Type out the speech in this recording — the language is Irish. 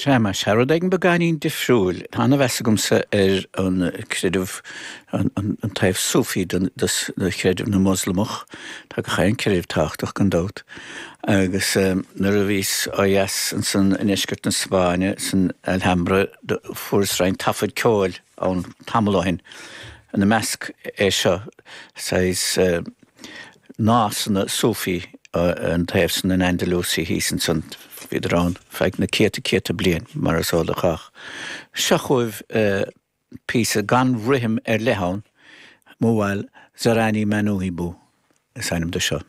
Sea, más ea, rud éigin beagáinín difriúil. Tá ana-mheas agamsa ar an creideamh, an taobh Sufi de chreideamh na Moslamach. Tá gach aon creideamh tábhachtach, gan dabht. Agus nuair a bhíos ó dheas ansan i ndeisceart na Spáinne, san Alhambra, fuaireas roinnt taifead ceoil ann tamall ó shin. Ina measc é seo, saghas nósanna Sufi an taobh san in Andalusia thíos ansan. Bhíodar ann feadh na céadta céadta bliain, mar is eol do chách. Seo chugaibh píosa gan rithim ar leith ann, Mawwal Zarani Man Uhibbu is ainm do seo.